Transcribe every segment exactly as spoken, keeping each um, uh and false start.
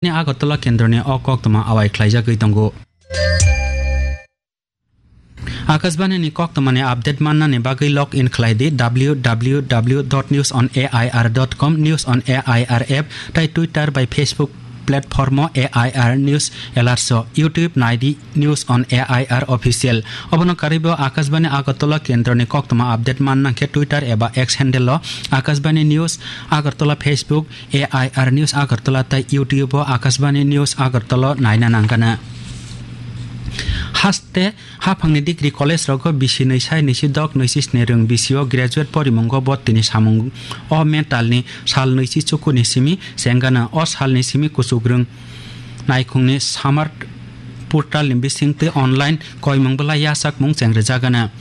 Agartala kendroni o koktwma awai khlaijagwi tongo. Akashbani ni koktwmani update mannani bagwi log in khlai di www dot news on air dot com, News on A I R app, tai Twitter bai Facebook platform o A I R News Alerts o, YouTube nai di News on A I R Official. Obono karwibo Akashbani Agartala kendroni koktwma update manna khe Twitter eba X handle o Akashbani News Agartala, Facebook A I R News Agartala tai YouTube o Akashbani News Agartala naina nangkana. Haste haphangni degree college rogo bisi nwi sai nwi si dok nwi si sni rwng bisi o graduate porimungo botini samung o mental ni sal nwi si chukuni simi chengana. O salni simi kuchuk rwng naikhungni summer portal ni bisingtwi online koimung bwlai yachakmung chengrijagana.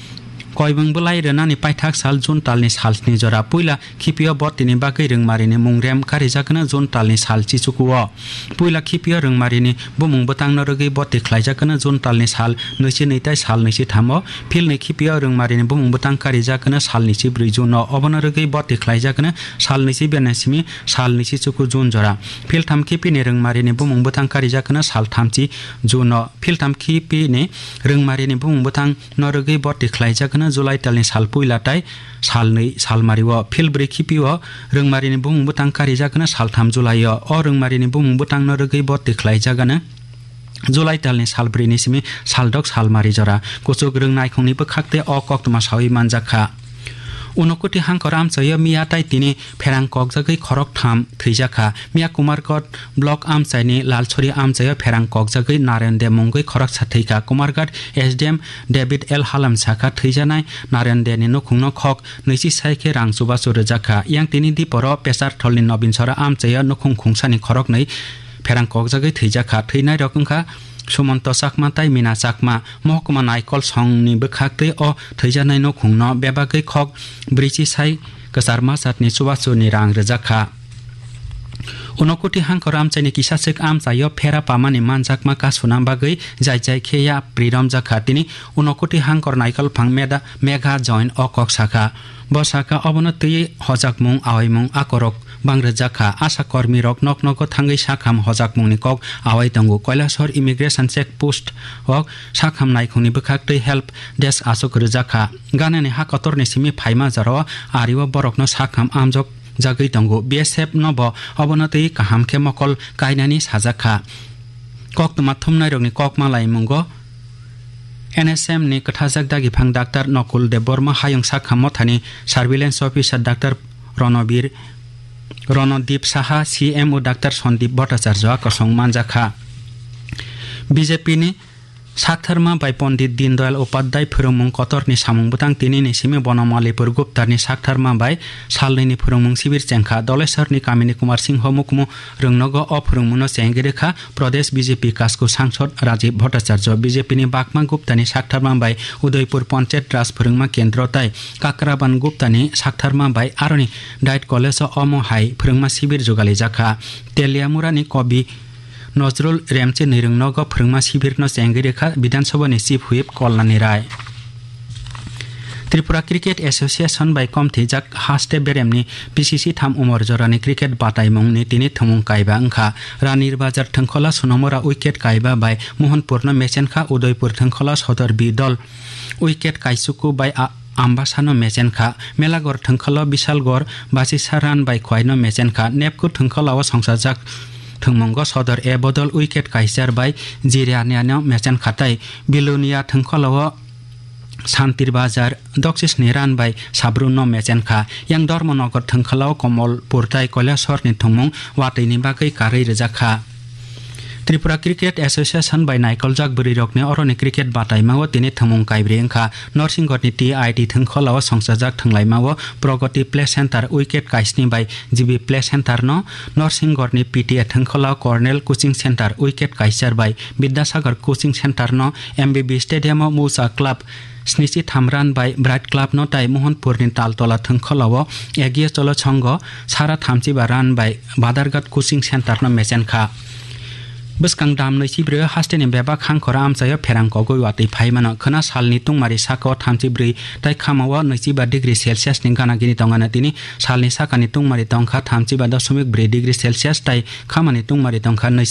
Koimung bwlai rwnani paithak sal June talni sal sni jora. Puila khipio botini bagwi rwngmarini mung rem karijakna June talni sal chichukuo. Puila khipio rwngmarini bumung bwtangno rwgwi boti khlaijakna June talni sal nwi si nwi tai sal nwi si thamo. Philni khipio rwngmarini bumung bwtang karijakna sal nwi si brwi June o. Obono rwgwi boti khlaijakna sal nwi si bena simi sal nwi si chuku June jora. Philtham khipini rwngmarini bumung bwtang karijakna sal thamchi June o. Philtham khipini rwngmarini bumung bwtang no rwgwi boti khlaijakna July talni sal puila tai sal nwi sal mario. Phil bwrwi khipio rwngmarini bumung bwtang karijakna sal tham July o. O rwngmarini bumung bwtang no rwgwi boti khlaijakna July talni sal bwrwi ni simi sal dok sal mari jora. Kuchuk rwng naikhungni bwkhak tei o koktwma sawi manjakha. Unokoti hangkor amchaio miya tai tini pherang kokjagwi khorok tham thwijakha. Miya Kumarghat block amchaini Lalsori amchaio pherang kokjagwi Naren de mungwi khoroksa thwikha. Kumarghat S D M David L Halam sakha, thwijanai Naren de ni nukhungno khok nwi si sai khe rang chubachu rwjakha. Yang tini diporo Pesartholni Nobinsora amchaio nukhung khungsani khoroknwi pherang kokjagwi thwijakha. Thwinairok wngkha Sumonto Chakma tai Mina Chakma. Mohokuma Naikol songni bwkhak tei o thwijaknai nukhungno bebagwi khok brwichi sai kwcharma jatni chubachu ni rang rwjakha. Unokoti hangkor amchaini kisachwk amchaio phera pamani manjakma kasuna bagwi jai jai khe yapri romjakha. Tini Unokoti hangkor Naikol phang Meda-, Megha Join o kok sakha. Bo sakha, obono twiwi hojakmung, awaimung akorok bang rwjakha. Asha kormirok nok nogo thangwi sakham hojakmungni kok awai tongo. Kailasor Immigration Check Post o sakham naikhungni bwkhak tei help desk aswk rwjakha. Ganani ha kotorni simi phaima jorao ario borokno sakham amjok jagwi tongo. B S F no bo obono twi kaham khe mokol kainani sajakha. Koktwma thumnairokni kokma laimungo N S M ni kwthajak dagiphang Doctor Nokul Debbarma, Hayung Sakha Mothani Surveillance Officer Doctor Ronobir, Ronodip Saha, C M O Doctor Sandip Bhattacharya kosong manjakha. B J P ni saktharma bai Pondit Dindayal Upadhyay phwrwngmung kotorni samung bwtang tinini simi Bonomalipur Guptani saktharma bai salnwini phwrwngmung sibir chengkha. Dolesarni kamini Kumar Singho mukmu rwngnogo o phwrwngmungno chengwi rwkha Pradesh B J P kasku sangsod Rajiv Bhattacharya. B J P ni Bakma Guptani saktharma bai Udaipur Panchayat Raj phwrwngma kendro tai Kakraban Guptani saktharma bai aroni Diet College o omo hai phwrwngma sibir jugalijakha. Teliamurani Kobi Nojrul Remchi nwrwngnogo phwrwngma sibirno chengwi rwkha Bidhan Sabhani Chief Whip Kalnani Rai. Tripura Cricket Association bai komthijak haste beremni P C C tham umor jorani cricket bataimungni tini thwngmung kaiba wngkha. Ranir Bazar thwngkhola Sonomora wicket kaiba bai Mohanpurno mechenkha, Udaipur thwngkhola Sodor B dol wicket kaisuku bai a-, Ambasano mechenkha. Melagor thwngkholo Bisalgor Basisa run bai Khwaino mechenkha. Nepku thwngkholao songsajak thwngmungo Sodor A bodol wicket kaichar bai Jiraniano mechenkha tei Bilonia thwngkholao Santir Bazar doksisni run bai Sabrunno mechenkha. Yang Dharmanagar thwngkholao Komolpur tai Kailasorni thwngmung watwini bagwi karwi rwjakha. Tripura Cricket Association bai naikoljak bwrwirokni oroni cricket bataimao tini thwngmung kaibrwi wngkha. Norsinggorni T I T thwngkholao songsajak thwnglaimao Pragati Play Center wicket kaisni bai G B Play Center no, Norsinggorni P T A thwngkholao Cornell Coaching Center wicket kaichar bai Bidyasagar Coaching Center no, M B B Stadium o Musa Club snichi tham run bai Bright Club no tai Mohanpurni Taltola thwngkholao Egiye Cholo Chhongo sara thamchiba run bai Badarghat Coaching Center no mechenkha. Bwskang dam nwichibrwi o hasteni bebak hangkhoro amchaio pherang kogwi watwi phai mano. Khwna salni tungmari sakao thamchibrwi tai khamao nwichiba degree Celsius ni gana gini tongano tini salni sakani tungmari tongkha thamchiba dosmik brwi degree Celsius tai khamani tungmari tongkha nwichi